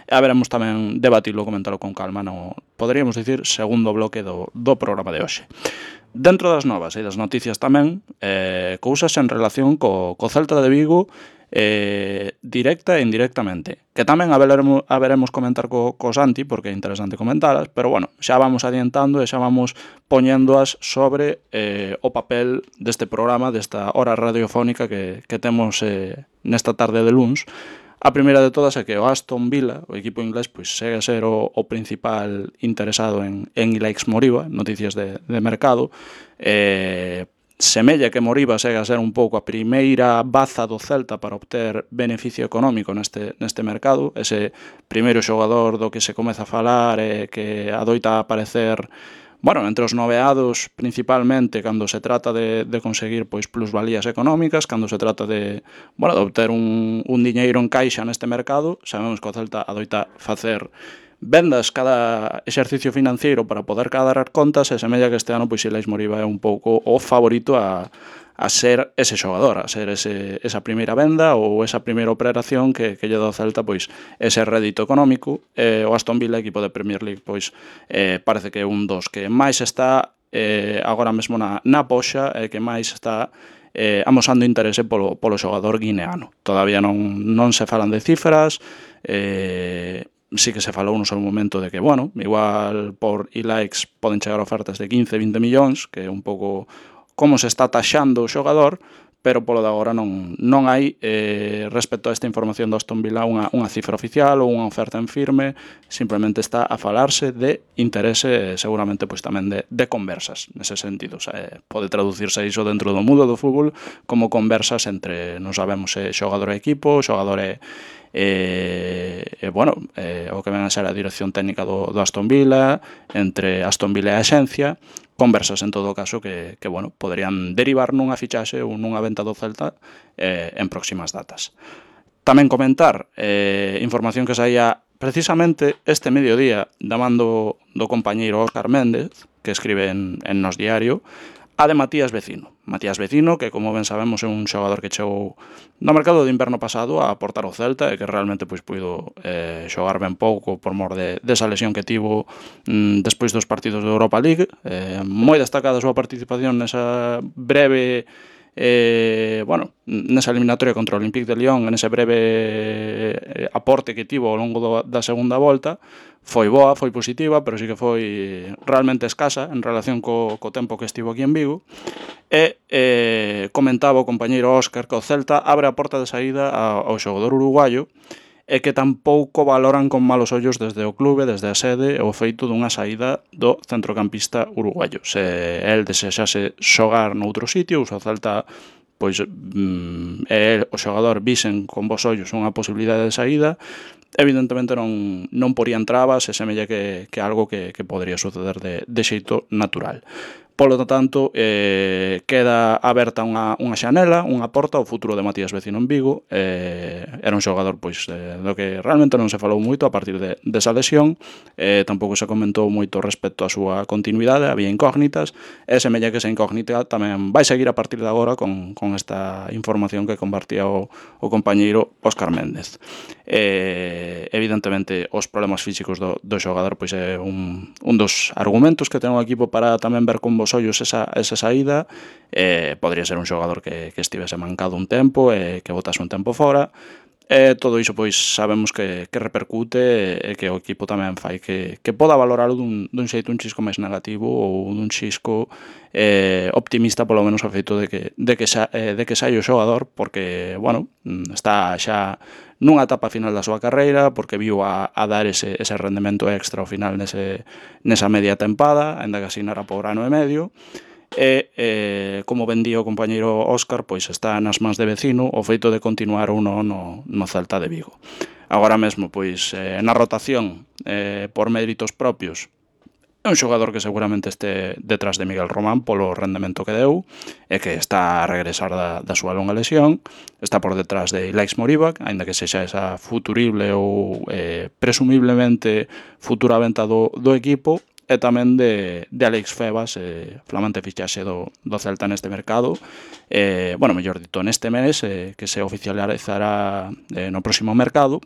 e haberemos tamén debatilo, comentalo con calma no, poderíamos dicir, segundo bloque do programa de hoxe. Dentro das novas e das noticias tamén, cousas en relación co Celta de Vigo, directa e indirectamente, que tamén haberemos comentar co Santi, porque é interesante comentalas, pero bueno, xa vamos adiantando e xa vamos poñéndoas sobre o papel deste programa, desta hora radiofónica que temos nesta tarde de luns. A primeira de todas é que o Aston Villa, o equipo inglés, pois segue a ser o principal interesado en Ilaix Moriba, noticias de mercado. Semella que Moriba segue a ser un pouco a primeira baza do Celta para obter beneficio económico neste mercado, ese primeiro xogador do que se comeza a falar e que adoita aparecer, bueno, entre os noveados, principalmente cando se trata de conseguir pois plusvalías económicas, cando se trata de obter un diñeiro en caixa neste mercado. Sabemos que o Celta adoita facer vendas cada exercicio financiero para poder cadrar contas, e semella que este ano pois Ilaix Moriba é un pouco o favorito a ser ese xogador, a ser esa primeira venda ou esa primeira operación que lle dá ao Celta pois ese rédito económico. O Aston Villa, equipo de Premier League, pois parece que é un dos que máis está agora mesmo na poxa e que máis está amosando interese polo xogador guineano. Todavía non se falan de cifras, sí que se falou no seu momento de que, bueno, igual por Ilaix poden chegar ofertas de 15-20 millóns, que é un pouco como se está taxando o xogador, pero polo de agora non hai, respecto a esta información do Aston Villa, unha cifra oficial ou unha oferta en firme. Simplemente está a falarse de interese, seguramente pois tamén de conversas, nese sentido. O sea, pode traducirse iso dentro do mundo do fútbol como conversas entre, non sabemos se xogador e equipo, xogador e o que ven a ser a dirección técnica do Aston Villa, entre Aston Villa e a axencia, conversas en todo caso que poderían derivar nunha fichaxe ou nunha venta do Celta en próximas datas. Tamén comentar información que saía precisamente este mediodía da man do compañeiro Óscar Méndez, que escribe en Nos Diario, a de Matías Vecino. Matías Vecino, que como ben sabemos é un xogador que chegou no mercado de inverno pasado a aportar o Celta e que realmente pois puido xogar ben pouco por mor desa lesión que tivo despois dos partidos de Europa League. Moi destacada a súa participación nesa breve nesa eliminatoria contra o Olympique de Lyon, nese breve aporte que tivo ao longo da segunda volta. Foi boa, foi positiva, pero sí que foi realmente escasa en relación co tempo que estivo aquí en Vigo. E comentaba o compañeiro Óscar que o Celta abre a porta de saída ao xogador uruguayo e que tampouco valoran con malos ollos desde o clube, desde a sede, o feito dunha saída do centrocampista uruguayo. Se el desexase xogar noutro sitio, o Celta pois o xogador visen con bons ollos unha posibilidade de saída, evidentemente non porían trabas e semella que algo que podría suceder de xeito natural. Polo tanto, queda aberta unha xanela, unha porta ao futuro de Matías Vecino en Vigo. Era un xogador pois do que realmente non se falou moito a partir desa lesión. Tampouco se comentou moito respecto á súa continuidade, había incógnitas, e semella que esa incógnita tamén vai seguir a partir de agora con esta información que compartía o compañeiro Óscar Méndez. Evidentemente, os problemas físicos do xogador pois é un dos argumentos que ten o equipo para tamén ver con vos ollos esa saída. Podría ser un xogador que estivese mancado un tempo e que botase un tempo fora. Todo iso pois sabemos que repercute e que o equipo tamén fai que poda valoralo dun xeito un chisco máis negativo ou dun chisco optimista, polo menos ao feito de que sai o xogador, porque, está xa nunha etapa final da súa carreira, porque viu a dar ese rendemento extra ao final nesa media tempada, aínda que asinara por ano e medio. E, como ben di o compañeiro Óscar, pois está nas mans de Vecino o feito de continuar ou non no Celta de Vigo. Agora mesmo, pois, na rotación, por méritos propios, é un xogador que seguramente este detrás de Miguel Román polo rendemento que deu e que está a regresar da súa longa lesión. Está por detrás de Ilaix Moriba, aínda que sexa esa futurible ou presumiblemente futura venta do equipo, e tamén de Alex Febas, flamante fichaxe do Celta neste mercado, mellor dito, neste mes, que se oficializará no próximo mercado.